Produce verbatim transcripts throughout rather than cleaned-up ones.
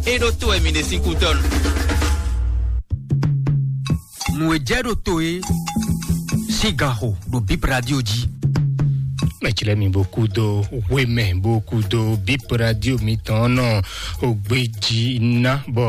É ɖó tó wɛ mi ɖe sín kú tɔnu. Nǔ e jɛ ɖo to e sín gan xo ɖo Bip Radio jí. Mɛtsilɛ mi bó kú dó hwemɛ bó kú dó Bip Radio mitɔn nɔ ogbejí ná bɔ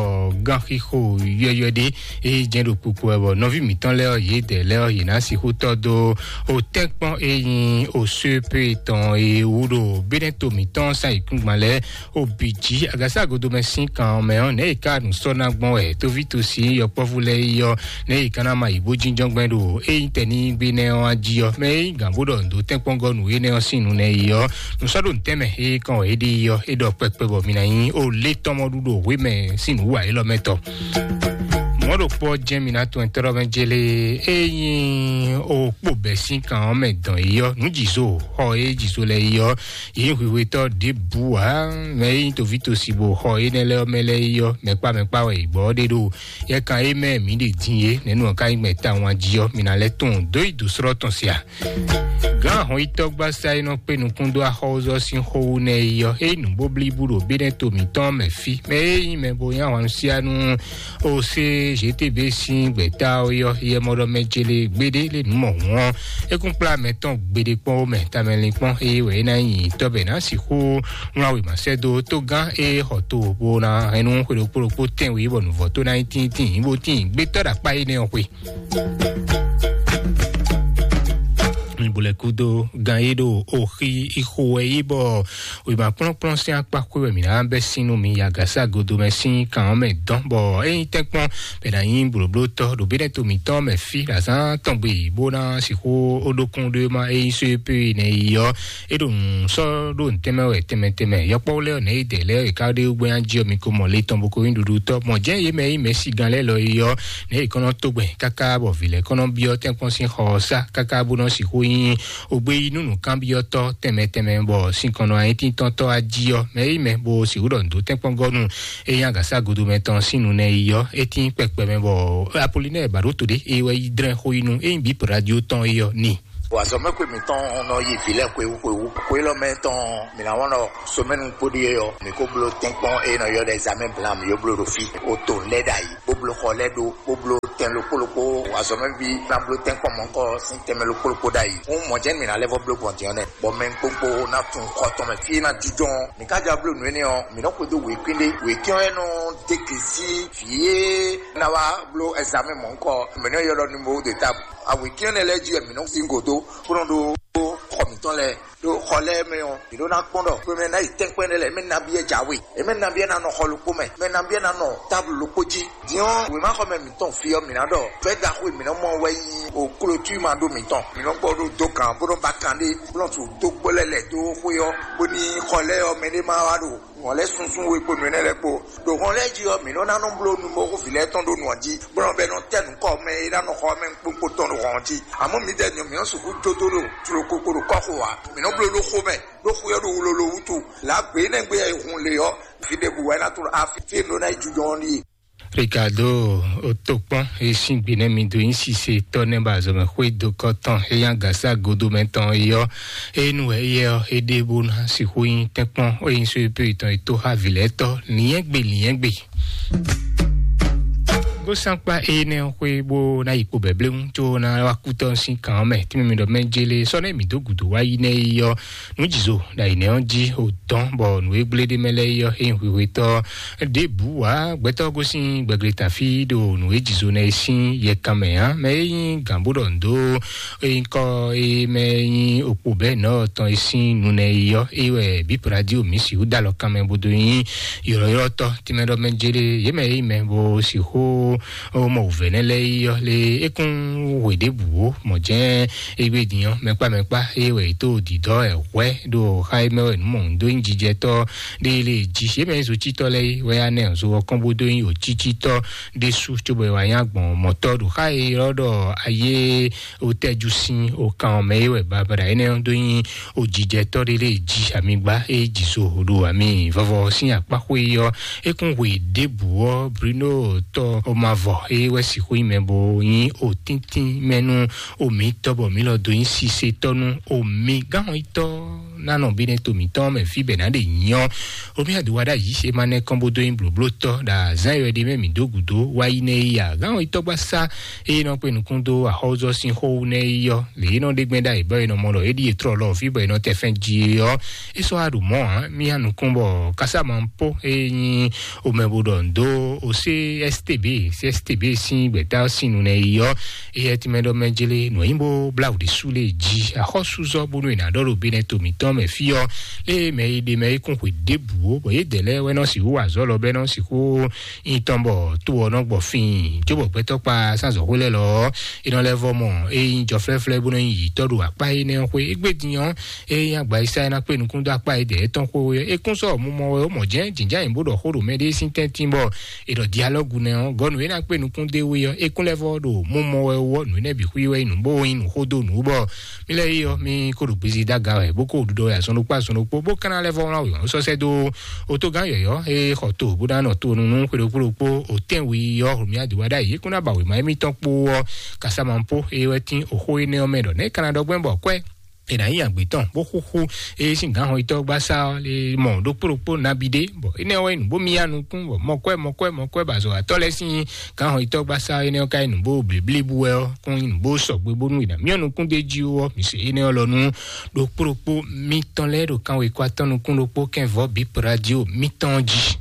gánxixo yɔyɔ ɖé e jɛ ɖo kpukpu wɛ bɔ nɔví mitɔn lɛ ɔ yě dɛ lɛ ɔ yě ná sixú tɔ dó o tɛnkpɔn e nyi o suepe tɔn e wú ɖo Benɛto mitɔn sa yǐkúngban lɛ o bǐ jí. Agasa godomɛ sín kan ɔ́ mɛ ɔ́, nɛ̌ è ká nǔ sɔ́ ná gbɔn wɛ tóví tosi yɔkpɔ́vú lɛ́ɛ yi ɔ́, nɛ̌ è ká ná ma yi bó jínjɔ́n gbɛn ɖo é nyí tɛnígbe nɛ́ ɔ́ jí ɔ́, mɛ é nyí gǎn bó ɖɔ nǔ dó tɛ́nkpɔ́ngɔ́ nǔ énɛ́ ɔ́ sín nǔ nɛ́ yi ɔ́, nǔ sɔ́ ɖo nǔtɛ́mɛ é kɔn wɛ é ɖe yi ɔ́, é ɖɔ kpɛkpɛ bɔ mi ná nyí o lé tɔn mɔ ɖu ɖo hwé mɛ sín nǔ wa élɔ́ mɛ tɔ. Mɔ̌ ɖokpó ɔ́ jɛ́n mi ná tunwun tɔ́ɖɔ́ mɛ jélé é nyí o kpo bɛ̌ sín kan ɔ́ mɛ dɔn yi ɔ́, nǔ jǐzo xɔ é jǐzo lɛ yi ɔ́, yě nyí hwihwetɔ́ ɖěbǔ ǎ. Mɛ e nyí toví tosi bó xɔ énɛ́ lɛ́ɛ ɔ́ mɛ lɛ́ɛ yi ɔ́, mɛkpá mɛkpá wɛ è gbɔ ɔ́ ɖe ɖo yɛkan e mɛ mǐ ɖe din é, nɛ̌ nǔ ɔ́ ka nyí gbɛn tawun jí ɔ́, mi ná lɛ́ tunwun dó yi dǒ slɔ́ tɔn se a? Gǎn ahɔn-yitɔ́ gbasa e nɔ kpé nukún dó axɔ́wúzɔ́ sín xó wú nɛ́ é yi ɔ́, é nyí nǔbóblíbú ɖo Benɛto mǐtɔn mɛ fí, mɛ e nyí mɛ bo nyí ahwansiánú o se G T B sín gbɛ̌ta ɔ́ yɔ́ yɛ mɔ ɖɔ mɛ ce lé gbéɖé lé nǔ mɔ hǔn ɔ́, é kún kplá mɛ tɔn gbeɖé kpɔ́n ó mɛ tamɛlin kpɔ́n, eye wɛ é ná nyi tɔ́ bɔ è nǎ sixú wlán wěma sɛ́ dó tógán e xɔ to bó ná hɛn nú xwe ɖokpó ɖokpó tɛ́nwe bɔ nǔvɔ́ tó ná nyí tíntín bó tín gbétɔ́ ɖo akpá énɛ́ ɔ́ xwe. Mi bo lɛ kúdó gan e ɖo oxi ixo wɛ yi bɔ wěma kplɔ́nkplɔ́n sín akpá xwé wɛ mǐ ná bɛ́ sín nú mi yi agǎsa godo mɛ sín kan ɔ́ mɛ dɔn, bɔ é nyí tɛ́nkpɔ́n bɛ ná nyí blǒblótɔ́ ɖo Benɛto mǐtɔn mɛ fí ɖo azǎn tɔn gbe bó ná sixú ó ɖókún ɖó ma é nyí só e pé nɛ yi ɔ́, é ɖo nǔ sɔ́ ɖó nǔtɛ́mɛ wɛ tɛnmɛ tɛnmɛ. Yɔkpɔ́ lɛ́ɛ ɔ́, nɛ̌ yi dɛ lɛ́ɛ è ká ɖe gbɛ́ jí ɔ́, mi ko mɔ le tɔn bó ko nyí ɖuɖutɔ́. Mɔ̌ jɛ́n yě mɛ e nyí mɛ̌sigán lɛ́ɛ lɔ yi ɔ́, nɛ̌ yě kɔn nɔ tó gbɛn káká bɔ vǐ lɛ́ɛ kɔn nɔ byɔ́ tɛ́nkpɔ́n sín xɔ ɔ́ sá káká bó nɔ sixú nyí ogbe yi nú nǔkanbyɔ́tɔ́ tɛnmɛ tɛnmɛ, bɔ sinkɔnnɔ ayítíntɔ́tɔ́ ají ɔ́, mɛ e nyí mɛ bó sixú ɖɔ nǔ dó tɛ́nkpɔ́ngɔ́nu e nyí agǎsa godo mɛ tɔn sín nu nɛ yi ɔ́, é tín kpɛkpɛ mɛ, bɔ Apolinɛ́ɛ Baɖóto ɖé e wɛ yi dlɛ́n xó yi nú é nyí bǐ radio tɔn é ɔ́ n'i. Wazɔ̌mɛxwé mǐtɔn nɔ yi vǐ lɛ́ɛ xwewú xwewú. Xwé lɔ mɛ tɔn mǐ ná wɔn ɖɔ somɛnu kpóɖí é ɔ́, mǐ ko bló tɛ́nkpɔ́n e nɔ ylɔ́ ɖɔ examen blan mǐ yó bló ɖo fí. O to lɛ́ ɖ'ayǐ, bó bló xɔ lɛ́ ɖó, bó bló tɛn ɖokpó ɖokpó, wazɔ̌mɛví ná bló tɛ́nkpɔ́n mɔ̌kɔ sín tɛnmɛ ɖokpó ɖokpó ɖ'ayǐ. Hǔn mɔ̌ jɛ́n mǐ ná lɛ́ vɔ bló gbɔn din ɔ́ nɛ́, bɔ mɛ kpókpó ná tunwun xɔ tɔn mɛ fí é ná jínjɔ́n. Mǐ ka jɔ bló nǔ énɛ́ ɔ́, mǐ nɔ xwedó wěkwín ɖé. Wěkwín ɔ́ é nɔ dó gěsí vǐ e ná wá bló examen mɔ̌kɔ, mǐ nɔ ylɔ́ numéro de table. Awěkwín énɛ́ lɛ́ɛ jí wɛ mǐ nɔ sín gǒdó, bó nɔ ɖó xɔ mǐtɔn lɛ́ɛ. Ɖo xɔ lɛ́ɛ mɛ ɔ́, mǐ ɖó ná kpɔ́n ɖɔ xwe mɛ ná yi tɛ́nkpɛ́ nɛ́ lɛ́ɛ, mɛ nabí wɛ jǎwe, yě mɛ nabí wɛ ná nɔ xɔ ɖokpó mɛ, mɛ nabí wɛ ná nɔ táblu ɖokpó jí. Din ɔ́, wěmaxɔmɛ mǐtɔn fí ɔ́, mǐ ná ɖɔ fɛ́ ɖaxó e mǐ nɔ mɔ wɛ nyí o klotúi ma ɖó mǐtɔn. Mǐ nɔ gbɔ ɖó dó gǎn bó nɔ ba kan ɖé, bó nɔ su dó gbó lɛ́ lɛ̌ dó xwé ɔ́, bóní xɔ lɛ́ɛ ɔ́, mɛ ɖé ma wá ɖo hɔn lɛ́ sunsun we kpo nǔ énɛ́ lɛ́ɛ kpo. Ɖo hɔn lɛ́ɛ jí ɔ́, mǐ nɔ ná nɔ bló numɔxóvi lɛ́ɛ tɔn ɖó nǔ ɔ́ jí, bó nɔ bɛ nɔ tɛ́ nǔkɔ mɛ e ná nɔ xɔ mɛ kpókpó tɔn ɖo hɔn jí. Àmọ́ mǐdɛɛ nyɔ mǐ nɔ sixú jó dó ɖo tlokoko ɖo kɔ́xo ǎ. Mǐ nɔ bló ɖó xó mɛ, ɖó xwé ɔ́ ɖo wlolo wútu. Lǎ gbě énɛ́ gbé e hun lě ɔ́, fí ɖěbǔ wɛ ná tló afi fí e nɔ ná yi jujɔ ɔ́ ɖíe. Ricardo, o tó kpɔ́n e sín gbe nɛ́ mi dó nyí sise tɔ́ nɛ́ ba azɔ̌mɛ xwé dó kɔ́ tɔn e nyí agǎsa godo mɛ tɔn é ɔ́, é nu wɛ éyɛ́ ɔ́, é ɖe bó ná sixú nyí tɛ́nkpɔ́n é nyí só e pé tɔn e tó xá vǐ lɛ́ɛ tɔ́ lǐnyɛ́gbe lǐnyɛ́gbe. Gósankpa énɛ́ ɔ́ xwé bó ná yi kpo bɛ̌blɛ́wún có ná wá kú tɔ́ sín kan ɔ́ mɛ, tínmɛ mi ɖɔ mɛ jélé sɔ́ nɛ́ mǐ dó gǔdo wá yi nɛ́ é ɔ́, nǔ jǐzo ɖo ayǐ nɛ́ ɔ́ jí o dɔn bɔ nǔ e gblé ɖ'é mɛ lɛ́ɛ é ɔ́, é nyí hwihwetɔ́ ɖěbǔ ǎ. Gbɛtɔ́ gosín gbɛgbleta fí ɖo nǔ e jǐzo nɛ́ é sín yɛkan mɛ ǎ. Mɛ e nyí gǎn bó ɖɔ nǔ dó é nyí kɔ e mɛ e nyí okpo bɛ́ nɔ́ tɔn é sín nu nɛ́ é ɔ́, é wɛ bǐ radio mǐ sixú dó alɔ kan mɛ bó dó nyí ylɔ̌ylɔ́tɔ́ tínmɛ ɖɔ mɛ jélé yě mɛ e nyí mɛ bó sixú ó mɔ wǔvɛ́ nɛ́ lɛ́ɛ yi ɔ́ lé é kún hwe ɖěbǔ ó. Mɔ̌ jɛ́n égbé din ɔ́, mɛkpá mɛkpá é wɛ è tó dǐdɔ́ ɛ hwɛ́ ɖo xá é mɛ wɛ nǔ mɔ nǔ dó nyí jijɛtɔ́ ɖé lé jí. É mɛ nyí zocítɔ́ lɛ́ɛ é wɛ á nɛ zo ɔ́ kɔn bó dó nyí wǒcícítɔ́ ɖésú cóbɔ è wǎ nyá gbɔn mɔ̌tɔ́ ɖo xá e ylɔ́ ɖɔ ayé wotɛ́jú sín okan ɔ́ mɛ é wɛ babada énɛ́ ɔ́ dó nyí ojijɛtɔ́ ɖé lé jí amigba é jí zo ɖo ami vɔvɔ sín akpá xwé ɔ́. É kún hwe ɖěbǔ ɔ́, Bruno tɔ Omavɔ é wɛ sixú nyí mɛ bo nyí otíntín mɛ nú omi tɔ́ bɔ mǐ lɔ dó nyí sisetɔ́ nú omi gán ɔ́ yi tɔ́. Ná nɔ bí nɛ́ to mǐtɔn mɛ fí bɛ̌ ná ɖe nyɔ. Omi àdúrà ɖá yǐ ṣe má nɛ́ kɔn bó dó nyi blǒbló tɔ́ ɖo azǎn e wɛ ɖe mɛ mǐ dó gǔdo wá yi nɛ yi a. Gǎn ɔ yi tɔ́gbá sá eye nɔ kpe nukún dó axɔ́zɔ́ sín xó wú nɛ́ yi ɔ́, lě e nɔ ɖe gbɛn ɖ'ayǐ bɔ è nɔ mɔ ɖɔ é ɖíe trɔ lɔ fí bɔ è nɔ tɛ fɛn ji é ɔ́, é sɔ́ wá ɖo mɔ̌ ǎ. Mí ya nukún bɔ kásámánpó e nyí omɛ bo ɖɔ ndo o C S T B, C S T B sín gbɛ̌ta sín nu nɛ yi ɔ́, eyɛ tɛnmɛ ɖɔ mɛ jele nɔ nyi bó blá wǔ ɖésú lé jí axɔ́súzɔ bónú è nǎ ɖɔ ɖo benɛ to mǐtɔn mɛ fí ɔ́, lé mɛ e ɖe mɛ é kún xwe ɖěbǔ ó, bɔ yě dɛ̌ lɛ́ɛ wɛ nɔ sixú wa azɔ̌ lɔ bɔ é nɔ sixú nyi tɔn bɔ to ɔ́ nɔ gbɔ fíin, cóbɔ gbɛtɔ́ kpa sánzɔ̌xwé lɛ́ɛ lɔ ɔ́, é nɔ lɛ́ vɔ mɔ é nyí jɔflɛ́flɛ́ bó nɔ nyi yǐtɔ́ ɖo akpá énɛ́ ɔ́ xwé. Égbé din ɔ́, é nyí agba e sá é ná kpé nukún dó akpá e dɛ̌ tɔn xwé é kún sɔ́ mumɔ wɛ ó mɔ jɛ́n jǐnján bó ɖɔ xó ɖo mɛɖée sín tɛ́ntin bɔ è ɖɔ dialɔ́gu nɛ́ ɔ́, gɔ́ nǔ e ná kpé nukún dó é wú é ɔ́, é kún lɛ́ vɔ ɖo mumɔ wɛ wú ɔ́, nǔ énɛ́ bǐ xwí wɛ nyí nǔ bó nyí nǔ xó dó nǔ bɔ mí lɛ́ɛ yi ɔ́, mí kó ɖo gbezi dó aga wɛ bó kó ɖuɖɔ wɛ azɔn ɖokpó azɔn ɖokpó bó ka ná lɛ́ vɔ wlán wěwɔn sɔ́ sɛ́ dó otogán yɔ̌yɔ́ e xɔ to bó ná nɔ to nú xwé ɖokpó ɖokpó. Otɛn wi ɔ́, hǔn mì adǐ wa ɖ'ayǐ é kún ná ba wěma émítɔn kpó ɔ́, kasámánpó e wɛ tín oxó énɛ́ ɔ́ mɛ ɖɔ nɛ̌ ka ná ɖɔ gbɛ́ bɔ kwɛ́ è nǎ nyi agbe tɔn bó xúxú eye sín gǎnhɔnyitɔ́ gbásá ɔ́ lé mɔ ɖokpó ɖokpó nabí ɖé, bɔ énɛ́ ɔ́ wɛ nǔ bó myá nukún, bɔ mɔkwɛ́ mɔkwɛ́ mɔkwɛ́ ba azɔ̌watɔ́ lɛ́ɛ sín gǎnhɔnyitɔ́ gbásá énɛ́ ɔ́ ka nyí nǔ bó blěblíbú wɛ ɔ́, kún nyí nǔ bó sɔgbe bónú è nǎ myɔ́ nukún d'é jí ó ɔ́, mǐ se énɛ́ ɔ́ lɔ nú ɖokpó ɖokpó mítɔn lɛ́ɛ ɖo kanwekwa tɔn nukún ɖokpó kɛnvɔ́ bǐ radio mítɔn jí.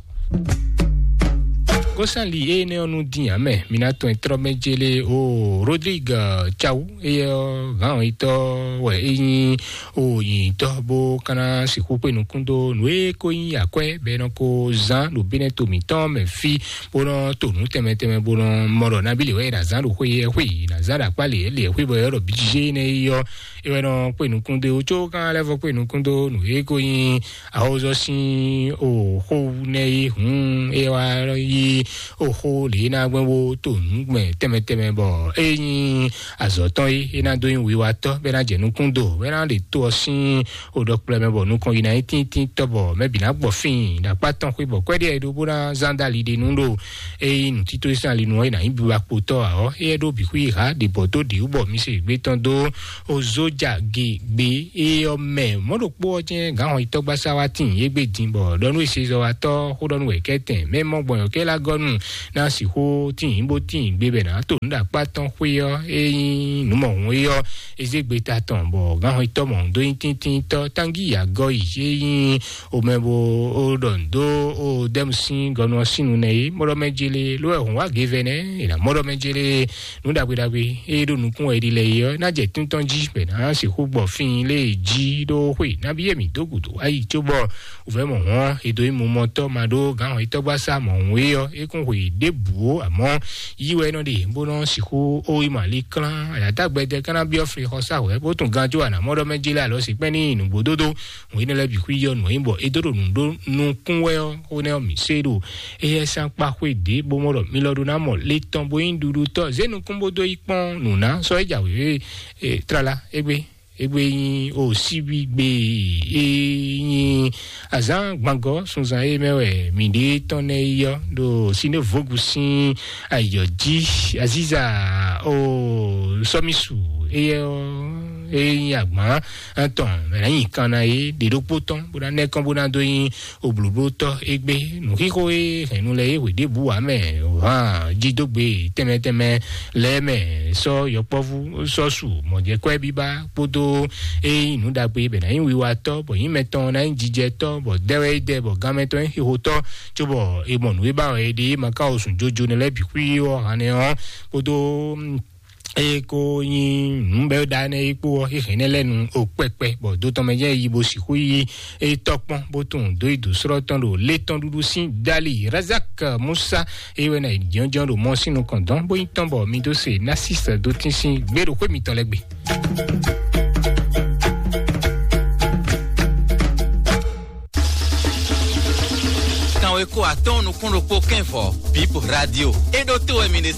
Gosali énɛ́ ɔ́ nú dín ǎ mɛ, mi ná tɔn trɔ́ mɛ jélé o Rodrigue Tchawu, éyɛ́ ɔ́ hǎn yitɔ́ wɛ é nyí o nyitɔ́ bó ka ná sixú kpé nukún dó nǔ e ko nyí akwɛ́ bɔ è nɔ ko zán ɖo bínɛ́ to mǐtɔn mɛ fí, bó nɔ to nǔ tɛnmɛ tɛnmɛ bó nɔ mɔ ɖɔ nabí lě wɛ è nǎ zán ɖo xwé yɛ xwé è nǎ zán ɖo akpá lě lě xwé bɔ è ɖɔ bǐ jijé énɛ́ yi ɔ́, é wɛ nɔ kpé nukún dó có kan lɛ́ vɔ kpé nukún dó nǔ e ko nyí awozɔ sín oxó nɛ yi hǔn é wá yí oxó lě ná gbɛn bó to nǔgbɛn tɛnmɛ tɛnmɛ bɔ é nyí azɔ̌ tɔn yi é ná dó nyí wiwatɔ́ bɔ é ná jɛ nukún do bɔ é ná ɖe to ɔ́ sín oɖɔkplɔ́ mɛ bɔ nukɔn yi ná nyí tíntín tɔ́ bɔ mɛ bǐ ná gbɔ fíin ɖo akpá tɔn xwé bɔ kwɛ́ɖí ɛ ɖó bó ná zán dó ali ɖe nú ɖo é nyí nǔtító sín ali nu ɔ́ é ná nyí biba kpotɔ́ ǎ ɔ́ é ɖó bǐ xwí ha ɖě bɔ dó ɖě wú bɔ mi se gbé tɔn dó ozójà gegbe é ɔ́ mɛ mɔ̌ ɖokpó ɔ́ jɛ́n gǎn hɔnyitɔ́gbasá wá tíin yé gbé din bɔ ɖɔ nú esezɔwatɔ́ xó ɖɔ nú wɛ̌kɛ́tɛn mɛ mɔ gbɔn yɔ̌kɛ́ lá gɔ́ nú ná sixú tíin bó tíin gbé bɔ è nǎ to nǔ ɖo akpá tɔn xwé ɔ́ é nyí nǔ mɔ̌hun é ɔ́ é zé gbeta tɔn bɔ gǎn hɔnyitɔ́ mɔ̌hun dó nyí tíntíntɔ́ tángíyǎgɔ́ yi é nyí omɛ bo ó ɖɔ nǔ dó ó dɛ́mu sín gɔnu ɔ́ sín nu nɛ é mɔɖɔ mɛ jélé ló wɛ hǔn wá gevɛ nɛ́ è nǎ mɔɖɔ mɛ jélé nǔ ɖagbe ɖagbe e ɖo nukún wɛ è ɖi lɛ é ɔ́ ná jɛ tíntɔ́n jí bɔ è nǎ sixú gbɔ fín lé jí ɖó xwe nabí e mǐ dó gǔdo wá yi cóbɔ wǔvɛ́ mɔ̌hun ɔ́ è dó nyí mumɔtɔ́ ma ɖó gǎn hɔnyitɔ́gbasá mɔ̌hun é ɔ́ é kún xwe ɖěbǔ ó, àmɔ́ yí wɛ é nɔ ɖe bó nɔ sixú ó yi mɔ ali klán ayǎtágbɛdɛ ká ná byɔ́ flixɔsá wɛ̌ bó tún ganjó anǎmɔ́ɖɔ mɛ jélé alɔ sǐkpɛ́n ní nǔgbó dódó. Hǔn énɛ́ lɛ́ɛ bǐ xwí yɔ nǔ e nyí bɔ é dó ɖo nǔ ɖó nukún wɛ ɔ́, xó nɛ́ ɔ́ mǐ se ɖo éyɛ́ sín akpa xwé ɖě bó mɔ ɖɔ mi lɔ ɖó ná mɔ le tɔn bó nyí ɖuɖutɔ́ zé nukún bó dó yi kpɔ́n nǔ ná sɔ́ é jǎwe e tlala égbé égbé nyí o síbígbe e nyí azǎn gbangɔ sunzan e mɛ wɛ mǐ ɖe tɔn nɛ yi ɔ́ ɖo sinévogu sín ayɔ jí aziza o sɔmisu eyɛ ɔ́ e nyí agbǎn tɔn mɛ ná nyi kan ná é ɖe ɖokpó tɔn bó ná nɛ́ kɔn bó ná dó nyí oblǒblótɔ́ égbé nǔxixo e hɛ̌nnu lɛ́ɛ é hwe ɖěbǔ ǎ mɛ hǎn jídógbe tɛnmɛ tɛnmɛ lɛ́ɛ mɛ sɔ́ yɔkpɔ́vú sɔ́ su mɔ̌jɛ́kwɛ́ bíbá kpódó é nyí nǔ ɖagbe bɛ ná nyí wiwatɔ́ bɔ nyí mɛtɔn ná nyí jijɛtɔ́ bɔ dɛwɛ é dɛ bɔ gánmɛtɔn é xixotɔ́ cóbɔ è mɔ nǔ e ba wɛ è ɖe é ma ka wo sùn jojo nɛ lɛ́ɛ bǐ xwí ɔ́ hannɛ ɔ́ kpódó eye ko nyi nǔ bɛ ɖa nɛ yi kpó ɔ́ xixi nɛ lɛ nu o kpɛkpɛ bɔ do tɔn mɛ jɛ yi bo sixú yi e tɔ kpɔn bó tún do yi do srɔ́ tɔn ɖo lé tɔn ɖuɖu sín dali razak musa eye wɛ na yi jɔnjɔn ɖo mɔ sín nukɔn dɔn bó yi tɔn bɔ mi dó se nasis dó tín sín gbé ɖo xwé mitɔn lɛ gbe. Kanweko atɔ́ɔ́n nukún ɖokpó kɛ́nvɔ bip radio é ɖó to wɛ mi ɖe